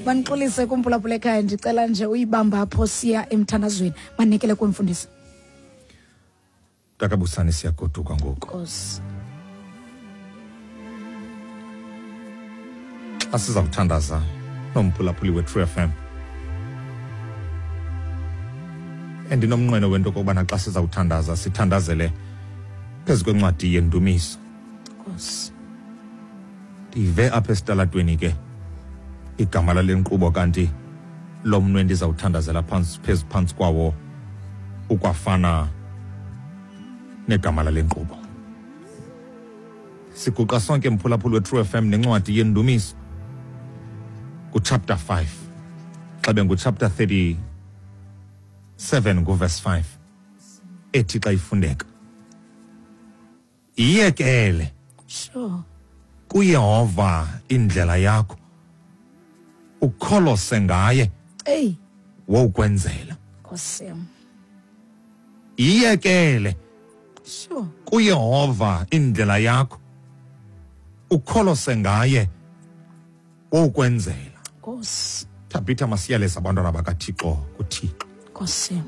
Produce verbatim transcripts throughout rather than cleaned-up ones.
Manixolise kumphulaphula ekhaya, ndicela nje uyibamba apho siya emthandazweni. Manikele kwemfundisi. Takabusani, siyagoduka ngoku. Nkosi. Xa siza kuthandaza nomphulaphuli we-True F M, endinomnqweno wento okokubana xa siza kuthandaza sithandazele phezu kwencwadi yendumiso. Nkosi. Ndive apha esitalatweni ke igama lale nkqubo, kanti lo mnwe ndizawuthandazela phantsi, phezu phantsi kwawo ukwafana negama lale nkqubo. Siguqa sonke mphulaphuli we-True F M nencwadi yendumiso kuchapter five, xa benguchapter thirty-seven nguverse five, ethi xa ifundeka, iyekele sure kuYehova indlela yakho, ukholose ngaye, ey wokwenzela. Nkosi yam. Iyekele sure kuYehova indlela yakho, ukholose ngaye, wokwenzela. Nkosi. Thabitha, masiyaleza abantwana bakaThixo kuThixo. Nkosi yam.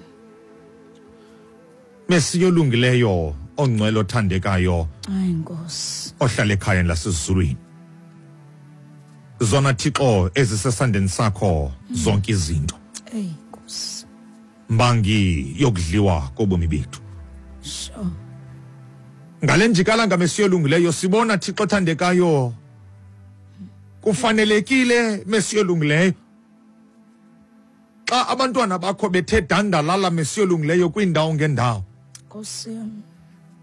Mesiya olungileyo, ongcwele, othandekayo, hayi Nkosi, ohlala ekhayeni lasezulwini, zona Thixo ezisesandleni sakho zonke izinto, ey Nkosi, mbangi yokudliwa kobomi bethu. Sure. Ngale njikalanga Mesiya olungileyo sibona Thixo othandekayo kufanelekile Mesiya olungileyo xa abantwana bakho bethe dandalala Mesiya olungileyo kwiindawo ngendawo. Nkosi yam.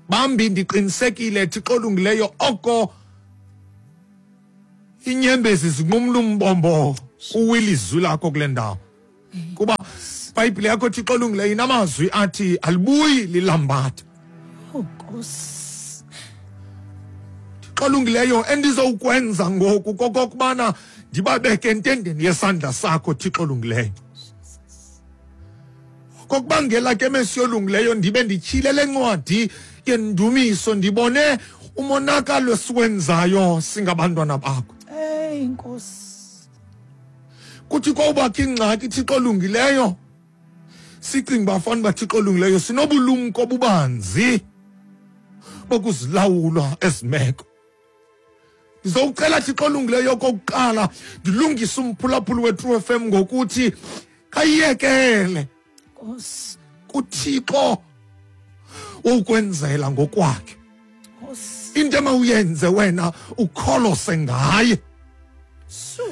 Bambi ndiqinisekile Thixo olungileyo oko inyembezi zinqumla umbombo uwilizwi lakho kule ndawo, kuba iBhayibhile yakho Thixo olungileyo inamazwi athi alibuyi lilambatha. Oh Nkosi. Thixo olungileyo, endizowukwenza ngoku kokokubana ndibabeke entendeni yesandla sakho Thixo olungileyo. Kokubangela ke Mesiya olungileyo ndibe ndityhile le ncwadi yendumiso, ndibone umonakalo esiwenzayo singabantwana bakho. Hey Nkosi. Kuthi kowubakho ingxaki Thixo olungileyo, sicinga uba fanele uba Thixo olungileyo sinobulumko obubanzi bokuzilawula ezi meko. Ndizowucela Thixo olungileyo okokuqala ndilungise umphulaphuli we-True F M ngokuthi kayiyekele Nkosi kuThixo ukwenzela ngokwakhe. Nkosi. Into emawuyenze wena ukholose ngaye. Su.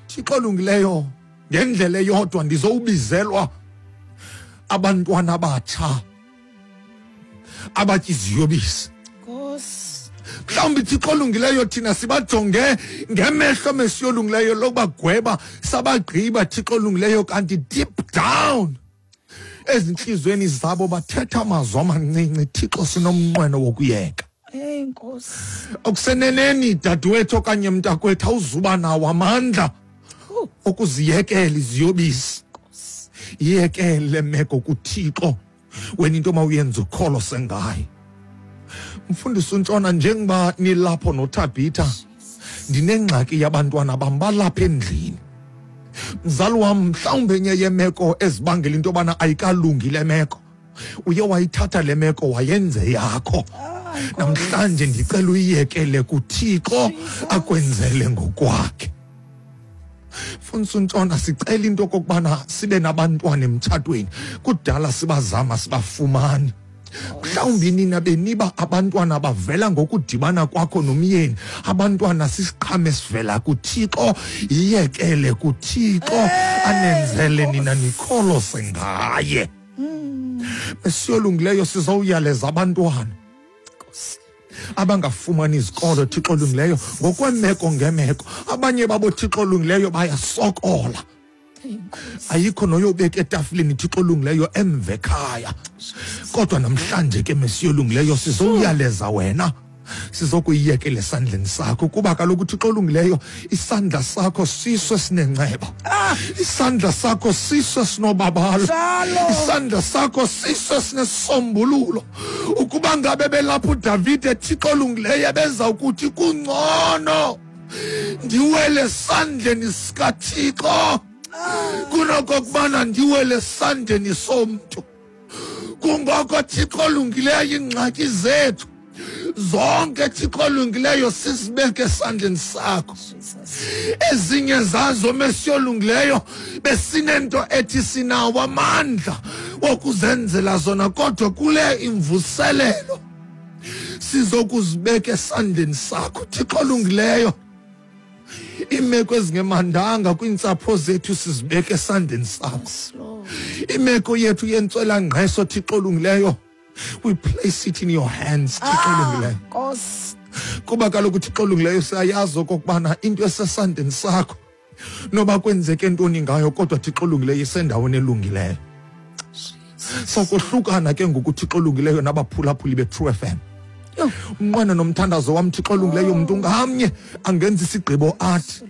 Thixo olungileyo, ngendlela eyodwa ndizowubizelwa abantwana abatsha abatya iziyobisi. Nkosi. Mhlawumbi Thixo olungileyo thina sibajonge ngemehlo Mesiya olungileyo lokubagweba sabagqiba Thixo olungileyo, kanti deep down ezintliziyweni zabo bathetha amazwi amancinci. Thixo, sinomnqweno wokuyeka. Hey Nkosi. Okuseneneni dadewethu okanye mntakwethu awuzuba nawo amandla okuziyekela iziyobisi. Yekele meko kuThixo, wena into mawuyenze ukholose ngaye. Mfundisi uNtshona, njengoba nilapho noThabitha, ndinengxaki yabantwana bam balapha endlini. Mzali wam, mhlawumbi enye yemeko ezibangela into yobana ayikalungi le meko, uye wayithatha le meko wayenze yakho. Namhlanje ndicela uyiyekele kuThixo akwenzele ngokwakhe. Mfundisi uNtshona, sicela into okokubana sibe nabantwana emtshatweni. Kudala sibazama sibafumani. Mhlawumbi nina beniba abantwana bavela ngokudibana kwakho nomyeni. Abantwana sisiqhamo esivela kuThixo. Yiyekele kuThixo anenzele nina nikholose ngaye. Mesiya olungileyo, sizowuyaleza abantwana abangafumani izikolo Thixo olungileyo ngokwemeko ngemeko. Abanye babo Thixo olungileyo bayasokola, ayikho noyobeka etafileni Thixo olungileyo emva ekhaya. Kodwa namhlanje ke Mesiya olungileyo sizowuyaleza wena, sizokuyiyekela esandleni sakho, kuba kaloku Thixo olungileyo isandla sakho siso esinenceba, isandla sakho siso esinobabalo, isandla sakho siso esinesombululo. Ukuba ngabe belapho uDavide Thixo olungileyo ebeza ukuthi kungcono Ndiwele esandleni sikaThixo kunokokubana ndiwele esandleni somntu. Kungoko Thixo olungileyo iingxaki zethu zonke Thixo olungileyo sizibeke esandleni sakho. Ezinye zazo Mesiya olungileyo besinento ethi sinawo amandla wokuzenzela zona, kodwa kule imvuselelo sizokuzibeka esandleni sakho Thixo olungileyo. Iimeko ezingemandanga kwiintsapho zethu sizibeke esandleni sakho. Imeko yethu yentswelangqesho Thixo olungileyo, we place it in your hands Thixo olungileyo. Kuba kaloku Thixo olungileyo siyayazi okokubana into esesandleni sakho noba kwenzeke ntoni ngayo, kodwa Thixo olungileyo isendaweni elungileyo. Sokohlukana ke ngoku Thixo olungileyo nabaphulaphuli be-True F M. Umnqweno nomthandazo wam Thixo olungileyo, umntu ngamnye angenza isigqibo athi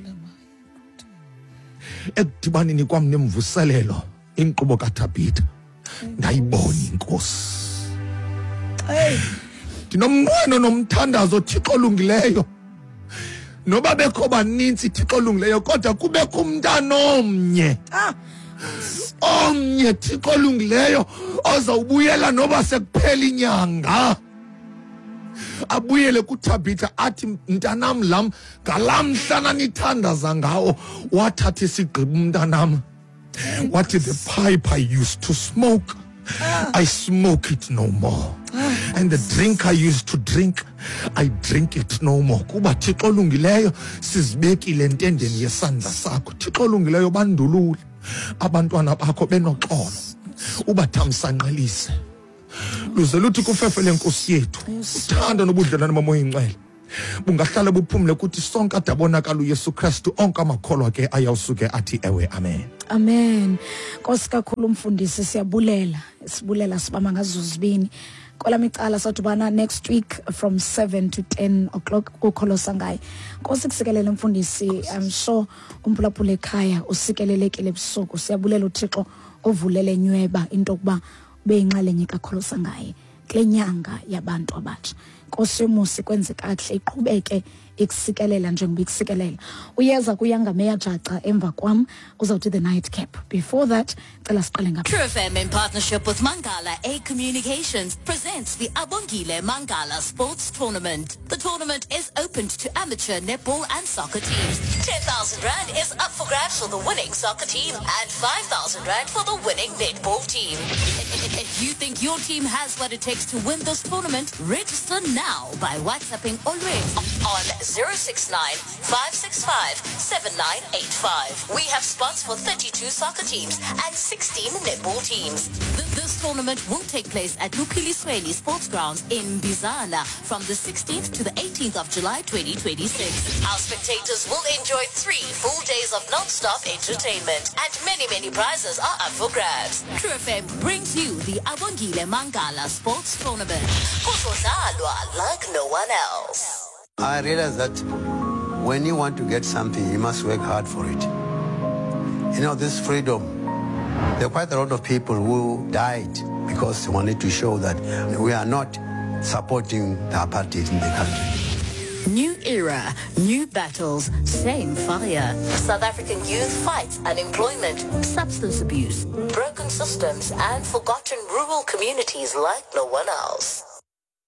ekudibaneni kwam nemvuselelo inkqubo kaThabitha ndayibona iNkosi. Ndinomnqweno nomthandazo Thixo olungileyo, noba bekho baninzi Thixo olungileyo, kodwa kubekho umntana omnye omnye Thixo olungileyo ozawubuyela noba sekuphela inyanga, abuyele kuThabitha athi mntanam lam ngalamhla nanithandaza ngawo wathatha isigqibo umntanam, wathi the pipe I used to smoke, I smoke it no more, and the drink I used to drink, I drink it no more. Kuba Thixo olungileyo sizibekile entendeni yesandla sakho. Thixo olungileyo bandulule abantwana bakho benoxolo, ubathamsanqelise luze luthi kufefe lenkosi yethu uthando nobudlelwane bomoya ingcwele bungahlala buphumle kuthi sonke adabonakala uYesu Kristu. Onke amakholwa ke ayawusuke athi ewe, amen. Amen. Nkosi kakhulu umfundisi, siyabulela, sibulela sibama ngazo zibini. Kwelami icala sadibana next week from seven to ten o'clock kukholo sangaye. Nkosi kusikelele mfundisi, I'm sure umphulaphula ekhaya usikelelekile ebusuku. Siyabulela uThixo ovulele nyweba into yokuba ube yinxalenye kakholo sangaye kule nyanga yabantu abatsha. Nkosi yomusi kwenze kakuhle, iqhubeke ikusikelela njengoba ikusikelela. Uyeza kuyangameya jaca emva kwam uzawuthi the night cap. Before that, cela siqale ngapha. True F M in partnership with Mangala A Communications presents the Abongile Mangala Sports Tournament. The tournament is open to amateur netball and soccer teams. ten thousand rand is up for grabs for the winning soccer team and five thousand rand for the winning netball team. If you think your team has what it takes to win this tournament, register now by WhatsApping Olwethu on zero six nine, five six five, seven nine eight five. We have spots for thirty-two soccer teams and sixteen netball teams. This tournament will take place at Lukilisweni Sports Grounds in Bizana from the sixteenth to the eighteenth of July twenty twenty-six. Our spectators will enjoy three full days of non-stop entertainment, and many, many prizes are up for grabs. True F M brings you the Abongile Mangala Sports Tournament. Kuzodlalwa like no one else. I realize that when you want to get something, you must work hard for it. You know, this freedom, there are quite a lot of people who died because they wanted to show that we are not supporting the apartheid in the country. New era, new battles, same fire. South African youth fights unemployment, substance abuse, broken systems, and forgotten rural communities like no one else.